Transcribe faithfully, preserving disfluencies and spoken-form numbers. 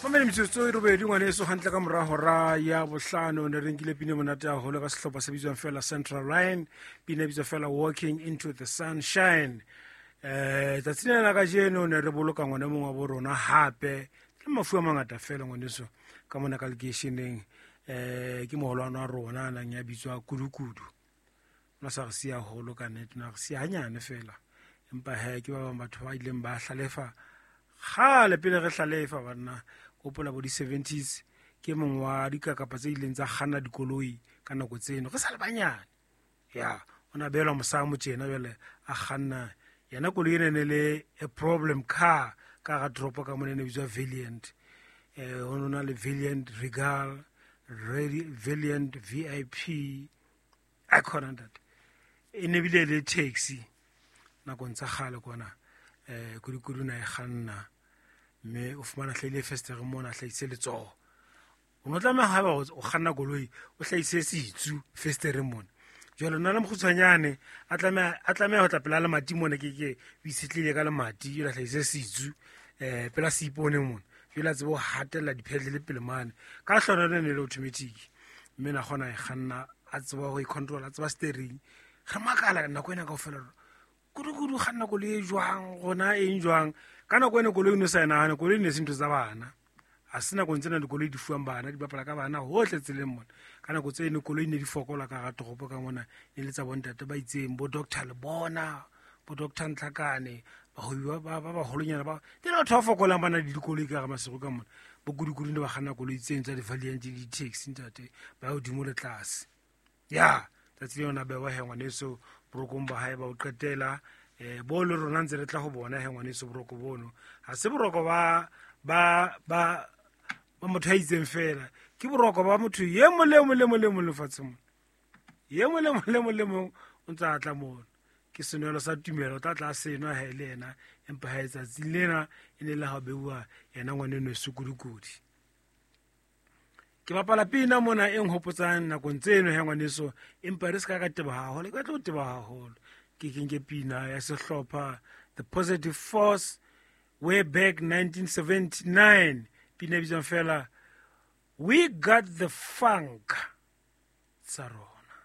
Mamele metsotso e robedi ngwaneso hantle ka mora hora ya bohlano ne re nkile pina e monate haholo ka sehlopha se bitswang fela Central Line, pina e bitswa fela Walking Into the Sunshine. Eh tsatsing lena la kajeno ne re boloka ngwana e mong wa bo rona hape le mafu a mangata fela ngwaneso ka mona ka lekeisheneng. Eh ke moholwane wa rona a nang ya bitswa Kudukudu. Ona sa re siya haholo ka nnete, na re siya hanyane fela, empa he ke ba bang batho ba ileng ba hlalefa kgale pele re hlalefa banna. Hopola bo di-seventies ke mong wa dikakapa tse ileng tsa kganna dikoloi ka nako tseno re sa le banyane. Ya o na behelwa mosamo tjena jwale a kganna yena koloi ena e ne le a problem car ka hara toropo ka mona e ne bitswa Valiant. Eh ho no na le Valiant Regal, Ready, Valiant V I P, Icon ntate. E ne bile le taxi nakong tsa kgale kwana. Eh Kudukudu na e kganna mme o fumana hlahile festere mona, a hlahise letsoho. O no tlameha haeba o kganna koloi o hlahise setsu festereng mona. Jwale nna le mokgutshwanyane a tlameha, a tlameha ho tla pela lemati mona, ke ke o itshetlehile ka lemati, jwale a hlahise setsu eh pela seipone mona. Jwale a tsebe ho hatella diphetlele pele mane. Ka hlonolo e ne le automatic mme na kgona e kganna, a tseba ho e control, a tseba steering. Re makala nako ena kaofela hore Kudukudu kganna koloi e jwang, rona eng jwang. Ka nako ena koloi o ne sa e nahane, koloi e ne se ntho tsa bana. Ha se nakong tsena dikoloi di fuwang bana, di bapala ka bana hohle tseleng mona. Ka nako tseno koloi ne di fokola ka hara toropo ka mona, e le tsa bontate ba itseng, bo Doctor Lebona, bo Doctor Ntlhakane, bahwebi ba, ba, ba baholonyana ba. Ke batho ba fokolang ba na le dikoloi ka hara Maseru ka mona. Bo Kudukudu ne ba kganna koloi tseno tsa di-Valiant le di-taxi ntate, ba ya hodimo le tlase. Ya, tsatsi leo na bewa he ngwaneso borokong ba hae ba ho qetela. Eh bo le rona ntse re tla ho bona he ngwaneso boroko bono. Ha se boroko ba, ba, ba, ba motho a itseng fela, ke boroko ba motho e mong le mong le mong le mong lefatsheng mona. E mong le mong le mong le mong o ntse a tla mono. Ke senwelo sa tumelo, o tla tla senwa ha e le yena, empa ha e tsatsing lena e ne le ha beuwa yena ngwaneno Sekudukudu. Ke bapala pina mona e nhopotsang nakong tseno he ngwaneso, empa re se ka ka teba haholo, ke batla ho teba haholo. Ke kenke pina ya sehlopha The Positive Force way back nineteen seventy-nine. Pina e bitswang fela We Got the Funk tsa rona.